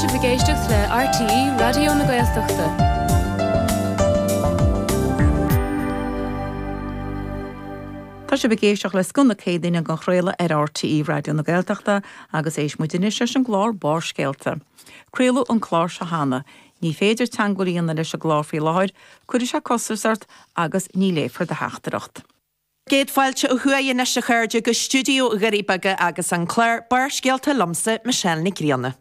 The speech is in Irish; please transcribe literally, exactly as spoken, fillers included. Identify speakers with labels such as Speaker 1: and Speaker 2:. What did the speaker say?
Speaker 1: sibh ag éisteacht le RTÉ Raidió na Gaeltachta.
Speaker 2: Tá sibh ag éisteacht le Scoth na Céadaoine á chraoladh ar RTÉ Raidió na Gaeltachta agus éist muid anois leis an gclár Barrscéalta. Craoladh an clár seo cheana. Ní féidir teagmháil a dhéanamh leis an gclár faoi láthair, cuirfidh sé costas ort agus ní léifear do theachtaireacht.
Speaker 3: Céad fáilte ó thuaidh anois a chairde go stiúideo Dhoirí Beaga agus an clár Barrscéalta liomsa Michelle Nic Grianna.